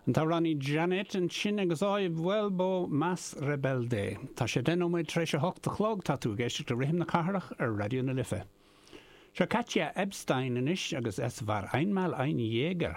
An t-amhránaí Janet ansin agus Hoy Vuelvo Más Rebelde. Tá sé 10 nóiméad tar éis a hocht a chlog, tá tú ag éisteacht le Rithim na Cathrach ar Raidió na Life. Seo Katja Ebstein anois agus Es war einmal ein Jäger.